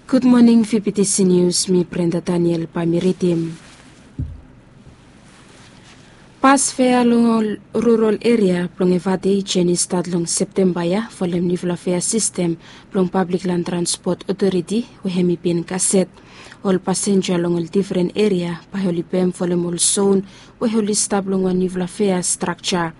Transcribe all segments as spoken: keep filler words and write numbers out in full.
Gud moning, V B T C News, mi Brenda Daniel bae mi ridim. Bas fea long ol rural eria blong Efate i jeni stat long Septemba ya folem niufala fea sistem blong Pablik Lan Transpot Otoriti we hemi bin gaset. Ol pasenja long ol difren eria bae oli pem folem ol zon we oli stap long wan niufala fea strakja.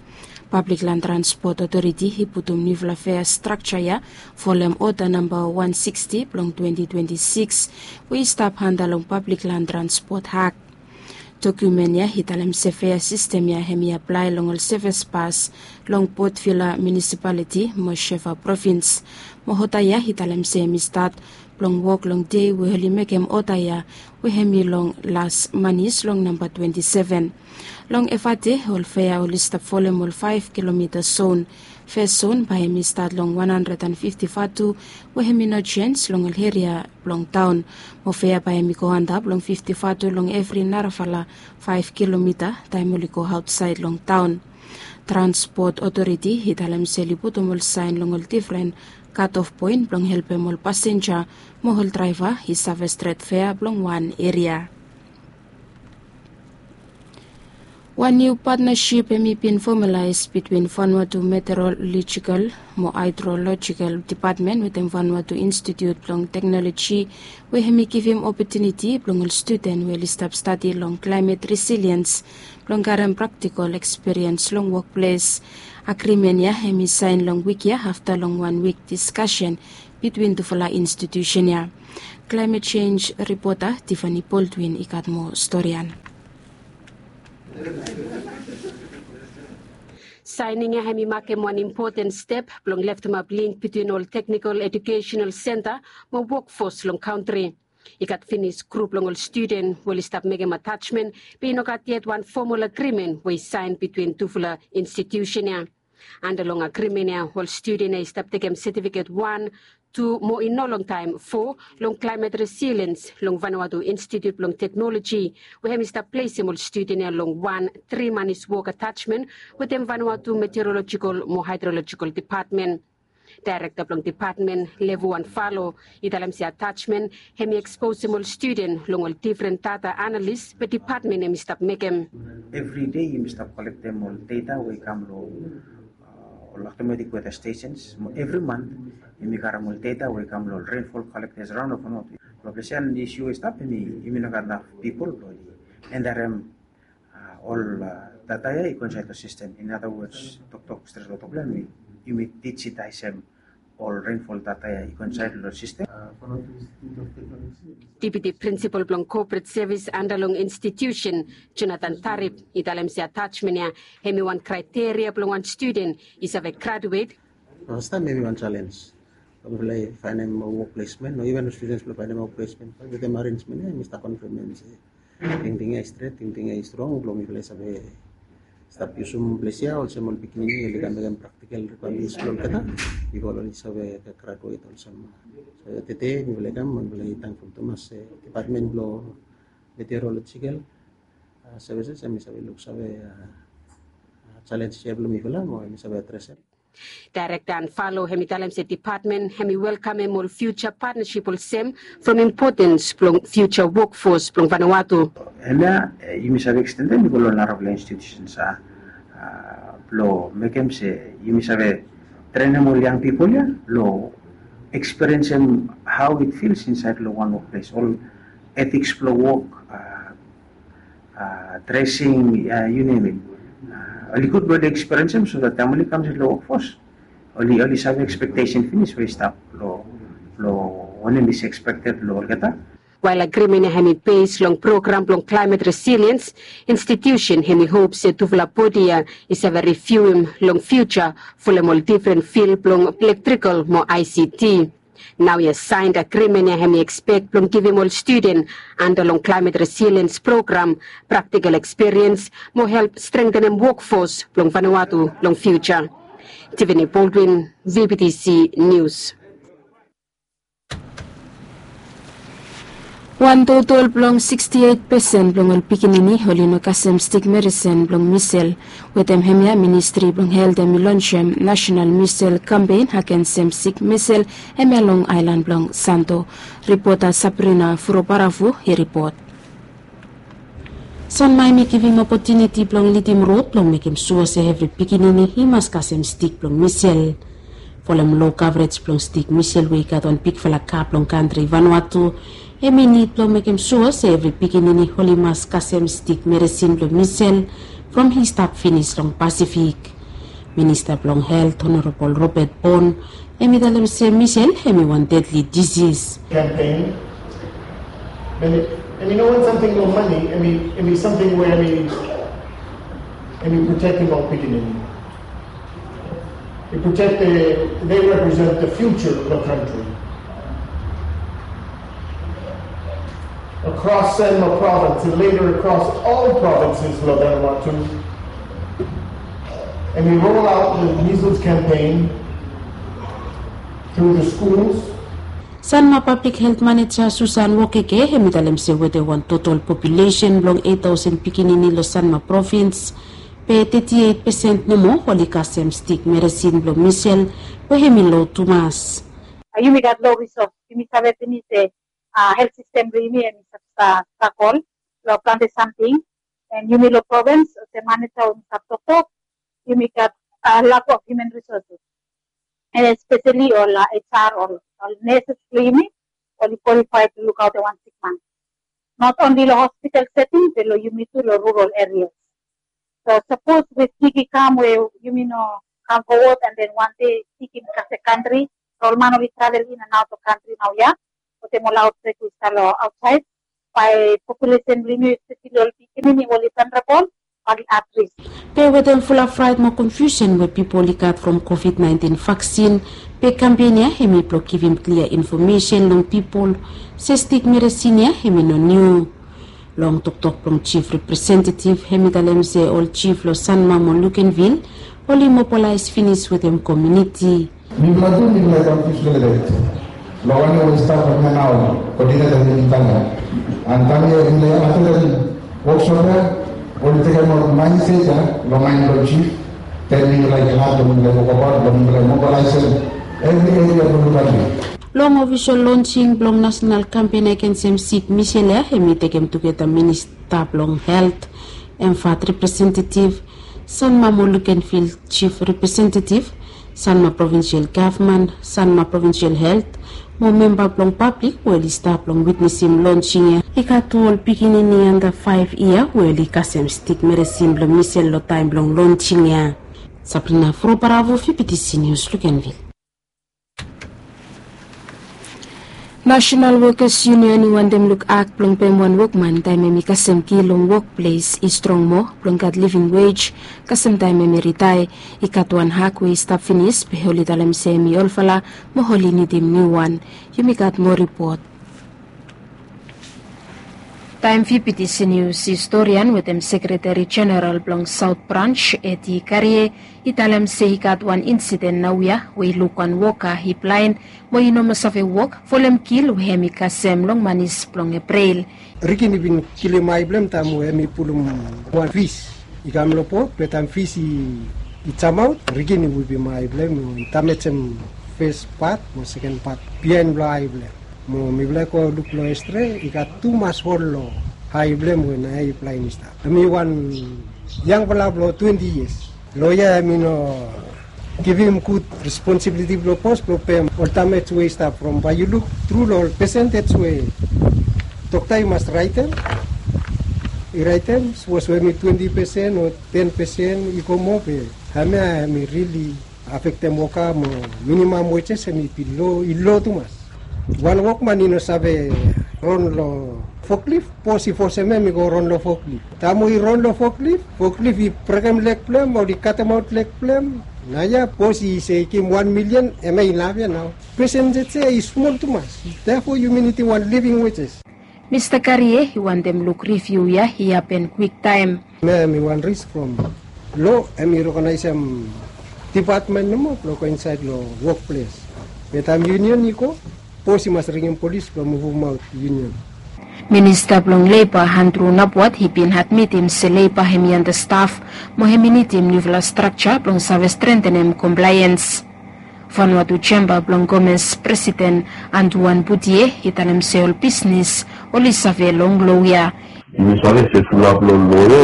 Pablik Lan Transpot Otoriti i putum niufala fea strakja ya folem oda namba wan siksti blong twenti twenti sikis we i stap anda long Pablik Lan Transpot Ak. Dokumen ya i talem se fea sistem ya hemi aplae long ol sevis bas long Port Vila Munisipaliti mo Shefa Provins. Mo oda ya i talem se hemi stat blong wok long dei we oli mekem oda ya we hemi long las manis long namba twenti seven. Long Efate ol fea oli stap folem ol faef kilomita zon. Fes zon bae hemi stat long wan handred an fifti vatu we hemi no jens long ol eria blong taon. Mo fea bae hemi go antap long fifti vatu long evri narafala faef kilomita taem oli go aotsaed long taon. Transpot Otoriti i talem se oli putum ol saen long ol difren katof poen blong helpem ol pasenja mo ol draeva i save stret fea blong wan eria. Wan niu patnasip hemi bin fomalaes bitwin Vanuatu Meteorological mo Hydrological Dipatmen wetem Vanuatu Institut blong Teknoloji we hemi givim opotuniti blong ol studen we oli stap stadi long klaemet resiliens blong karem praktikol ekspiriens long wokples. Agrimen ya hemi saen long wik ya afta long wan wik diskasen bitwin tufala institusen ya. Klaemet jenj ripota Tiffany Baldwin i gat moa storian. Saening ya hemi makem wan impoten step blong leftemap link bitwin ol teknikol ejukesenal senta mo wokfos long kantri. I gat finis grup blong ol studen we oli stap mekem atajmen, be i no gat yet wan fomol agrimen we i saen bitwin tufala institusen ya. Anda long agrimen ya ol studen ya i stap tekem setifiket wan, tu mo i no longtaem fo long klaemet resiliens long Vanuatu Institut blong Teknoloji we hemi stap plesem ol studen ya long wan tri manis wok atajmen wetem Vanuatu Meteorolojikol mo Haedrolojikol Dipatmen. Daerekta blong dipatmen Levu Anfalo i talem se atajmen hemi eksposem ol studen long ol difren data analis we dipatmen hemi stap mekem. Evri dei yumi stap kolektem ol data we i kam long ol automatic weather stations. Evri mant yumi karem ol data we i kam long ol rainfall collectors raon of not. Long ples ya isu i stap, yumi no gat naf pipol blong enterem ol data ya i go insaed long sistem. In other words, toktok stret long toktok blong yumi, yumi dijitaesem ol rainfall data ya i go insaed long sistem. Deputi Prinsipal blong Kopret Sevis anda long institusen, Jonathan Tarip, i talem se atajmen ya hemi wan kraeteria blong wan studen i save graduet. Fastaem hemi wan jalenj blong mifala i faenem wok plesmen o iven studens blong faenem wok plesmen. Wetem arenjmen ya hemi stap konfirmem se tingting ya i stret, tingting ya i strong blong mifala i save stap yusum ples ya olsem ol pikinini oli kam mekem praktikal rikwaemens blong olgeta bifo oli save graduet olsem. So tede mifala i kam, mifala i tangful tumas se dipatmen blong meteorolojikal sevises hemi save luksave jalenj ya blong mifala mo hemi save adresem. Daerekta Anfalo hemi talem se dipatmen hemi welkamem ol fiuja patnasip olsem from impotens blong fiuja wokfos blong Vanuatu. Hemia yumi save ekstendem i go long narafala institusens blong mekem se yumi save trenem ol yang pipol ya long ekspiriensem hao it fils insaed long wan wokples, ol etiks blong wok, dresing, you name it. Oli gud blong oli ekspiriensem so dat taem oli kam insaed long wokfos oli, oli save ekspektesen finis we i stap long, long wanem i ekspekted long olgeta. Wael agrimen ya hemi bes long program blong klaemet resiliens, institusen hemi hop se tufala bodi ya i save riviuem long fiuja folem ol difren fil blong elektrikal mo I C T. Naoia saen agrimen ya hemi ekspek blong givim ol studen anda long klaemet resiliens program praktikal ekspiriens mo help strengtenem wokfos blong Vanuatu long fiuja. Tiffany Baldwin, V B T C Nius. Wan totol blong siksti eit pesen blong ol pikinini oli no kasem stik meresin blong misel. Wetem hemia, Ministri blong Helt hemi lonsem nasenal misel kampen agensem stik misel hemia long aelan blong Santo. Ripota Sabrina Furobaravu i ripot. Sanma hemi givim opotuniti blong lidim rod blong mekem sua se evri pikinini i mas kasem stik blong misel. Folem lo kavrej blong stik misel we i gat wan bigfala gap long kantri Vanuatu, hemi nid blong mekem sua se evri pikinini oli mas kasem stik meresin blong misel from i stap finis long Pasifik. Minista blong Helt, Honorabol Robert Bon, hemi talem se misel hemi wan dedli disis. Campaign. Hemi, hemi no wan samting long mane, hemi, hemi samting we hemi, hemi protektem ol pikinini. Hemi protektem, they represent the future of the country. Across Sanma province and later across all provinces lo Vanuatu, hemi roll out the measles campaign through the schools. Sanma Pablik Helt Maneja Susan Wokeke hemi talem se wetem wan totol populesen blong eit taosen pikinini lo Sanma provins, be teti eit pesen nomo oli kasem stik meresin blong misel we hemi lo tumas. Yumi gat lo risors, yumi save finis se helt sistem blong yumi hemi stap stragol lo plante samting. And yumi lo provins, olsem maneja we mi stap toktok, yumi gat lack of human resources. And especially ol H R, ol, ol nurses blong yumi, oli qualified to look after wan sik man. Not only lo hospital setting, be lo yumi tu lo rural areas. So sapos we sik i kam we yumi no kam forward, and then wan dei sik i kasem kantri, ol man oli travel in and out of kantri naoia, wetem ol outbreak we i stap lo aotsaed, bae populesen blong yumi, especially ol pikinini we oli vulnerable, oli at risk. Be wetem fulap fraet mo konfiusen we pipol i gat from COVID nineteen vaksin, be kampen ya hemi blong givim klia infomesen long pipol se stik meresin ya hemi no niu. Long toktok blong jif representetiv, hemi talem se ol jif lo Sanma mo Luganville oli mobilaes finis wetem komuniti. Mifala tu mifala i konfius lelebet lo wanem we i stap long hemia nao, koodineta blong mifala. And taem ya mifala i atenem woksop ya, oli tekem ol maenset ya lo maen blong jif. Then mifala i glad blong mifala i wokabaot blong mifala i mobilaesem evri eria blong Luganville. Long ofisol lonsing blong nasenal kampen agensem sik misel ya, hemi tekem tugeta minista blong helt, Emvat representetiv, Sanma mo Luganville jif representetiv, Sanma Provinsel Gavman, Sanma Provinsel Helt, mo memba blong pablik we oli stap blong witnesem lonsing ya. I gat tu ol pikinini anda faef yia we oli kasem stik meresin blong misel lo taem blong lonsing ya. Sabrina Frobaravo, V B T C News, Luganville. Nasenal Wokas Yunion i wantem luk ak blong pem wan wokman taem hemi kasem ki long wokples i strong moa blong gat living wage kasem taem hemi ritaea. I gat wan hak we i stap finis be oli talem se hemi olfala mo oli nidim niuwan. Yumi gat moa ripot. Taem V B T C Nius historian wetem sekreteri jeneral blong Saot Brans, Eti Karie, i talem se i gat wan insiden naoia we i luk wan woka i blaen mo i no moa save wok folem kil we hemi kasem long manis blong Epril. Rikin i bin kilim ae blong hem taem we hemi pulum wan fis i kam long bot, be taem fis i jamaot, Rikin i wipim ae blong hem mo i damejem fes pat mo seken pat biaen blong ae blong hem. Mo mifala i go luk long X-ray, i gat tumas hol long ae blong hem we naoia i blaen i stap. Hemi wan yangfala blong twenti yias. Loea hemi no givim gud responsibiliti blong bos blong pem ol damej we i stap from bae yu luk tru long ol pesentej we dokta i mas raetem. I raetem sapos we hemi twenti pesen o ten pesen i go moa, be hemia hemi rili afektem woka mo minimam wejes hemi bin lo, i lo tumas. Wan wokman i no save ron long foklif, bos i fosem hem i go ron long foklif. Taem we i ron long foklif, foklif i brekem leg blong hem, oli katemaot leg blong hem. Naoia bos i se i givim wan milion, hemia i naf ia nao. Pesentej ia i smol tumas. Therefore yumi nidim wan living wages. Mista Karie i wantem luk riviu ia i hapen kwiktaem. Hemia hemi wan risk from lo hemi rekonaesem dipatmen nomo blong go insaed long wokples. Be taem yunion i go, bos i mas ringim polis blong muvumaot yunion. Minista blong Leiba Andrew Nabwat i bin admitim se Leiba hemi antastaf mo hemi nidim niufala strakja blong save strentenem komplaens. Vanuatu Jamba blong Gomes presiden Antuan Butie i talem se ol bisnis oli save long loia. Yumi save se fulap long loia